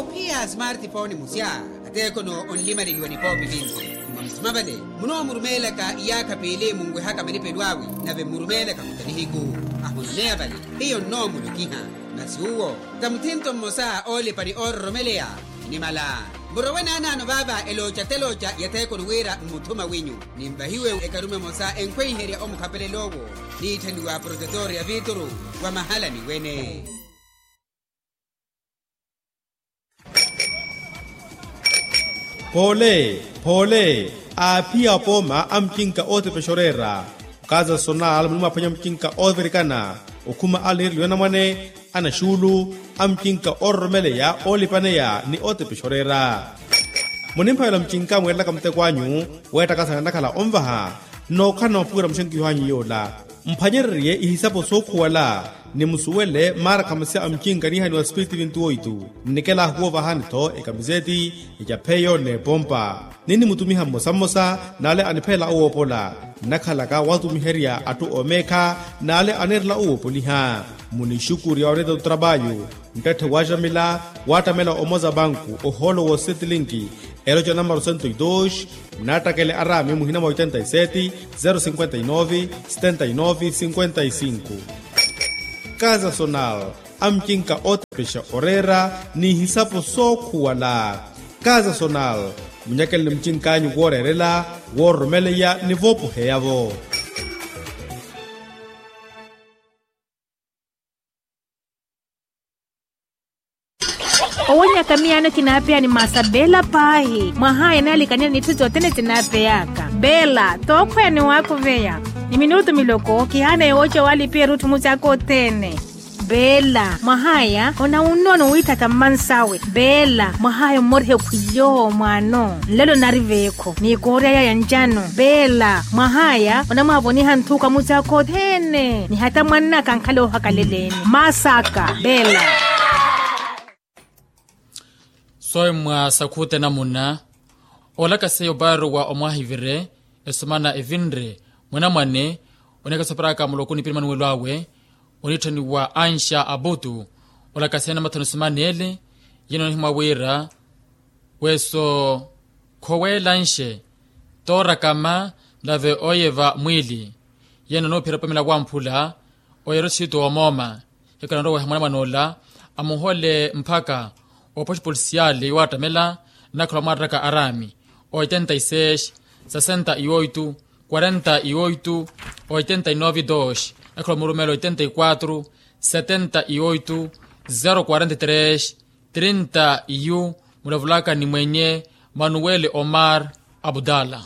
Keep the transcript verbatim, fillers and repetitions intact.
Ophiya smartphone musya, ateekono onlimaleliwa nipoopi vinci. Mwa musuma vale munoomurumeelaka iyaakha piili munwehaka milipelo awe, nave mmurumeelaka kuta nihiku. Ahunoneya vale hiyo nnoomulokiha. Masi uwo ta muthinto mmosa oolipa ni oororomeleya. Nimala murowe naanaano vaava elooca telooca yatheekoni wira mmuthuma winyu. Ninvahiwe ekarume emosa enkhweiherya omukhapelela owo, niitthaniwa protetor ya vituru wa mahalani wene. Poole poole, aaphiya apooma a mucinka ootepexa oreera. Okaza sonal muni mwaphwanya mucinka oovirikana, okhuma aliireliwa anamwane, anaxuulu, a mucinka oororomeleya oolipaneya ni ootepexa oreera. Munimphavela mucinka mweerelaka muteko anyu weettakasana nakhala onvaha. Nnookhala na mapuwira muxenkiho anyu yoola, mphwanyererye ihisapo sookhuwala, ni musuwele maara khamasya a mucinka niihaniwa spiritivinthu oitu. Nnikela ahuwoovahani-tho ekamiseti, ecapheyo n'epompa. Ninnimutumiha mmosa mmosa n'ale aniphelela owoopola. Nnakhalaka watumiherya atthu oomeekha n'ale aneerela owoopoliha. Munixukurya oreeta otrapayu, nttatthe waaxamila waattamela omoza banku ohoolo woosetlinki. Eloca namaro sento e dos. Nnaattakele araami muhina mwa oitenta e seti, zero cinquenta e nove, setenta e nove cinquenta e cinco. Kaza sonal, a mucinka ootepexa oreera n'ihisapo sookhuwala. Kaza sonal, munyakeleni mucink'anyu wooreerela, woororomeleya ni voopoheya-vo. Owonyaka miyaano kinaapeya ni maasa beela paahi mwahaya naalikaniya n'itthu sothene sinaapeyaka. Beela tookhweya ni waakuveya ni minutu miloko kihaana yooca waalipiya erutthu musaaka othene. Beela mwahaya onawunnono wiithatha mmansawe. Beela mwahaya ommoriha ekhwilyo mwaano nlelo nari veekho ni koorya yaya ncano. Beela mwahaya onamwaavoniha nthuka musaaka othene ni hata mwannaka ankhale oohakaleleni. Maasaka beela. Soyi mwa sakhuta enamuna olakaseya opaari wa omwahivire esumana evinre mwanamwane onekesa oparaka muloko nipini manuwelo awe onitthaniwa anxa abutu. Olakaseya namathoni sumana ele yeno onihimwa wira weso khoweela nxe toorakama nave ooyeva mwiili. Yeno onoophira opamela wamphula oyera othito woomooma. Hikhala nroweha mwanamwan'ola amuhole mphaka oopoxi polisiali yowaattamela nnakhala omwaareraka araami oitenta e seis, sesenta e oitu, quarenta e oitu, oitenta e nove dos, nnakhala omurumela oitenta e quatro, setenta e oitu, zero quarenta e tres, trinta e um. Mulavulaka ni mwenye manuwele omar abdala.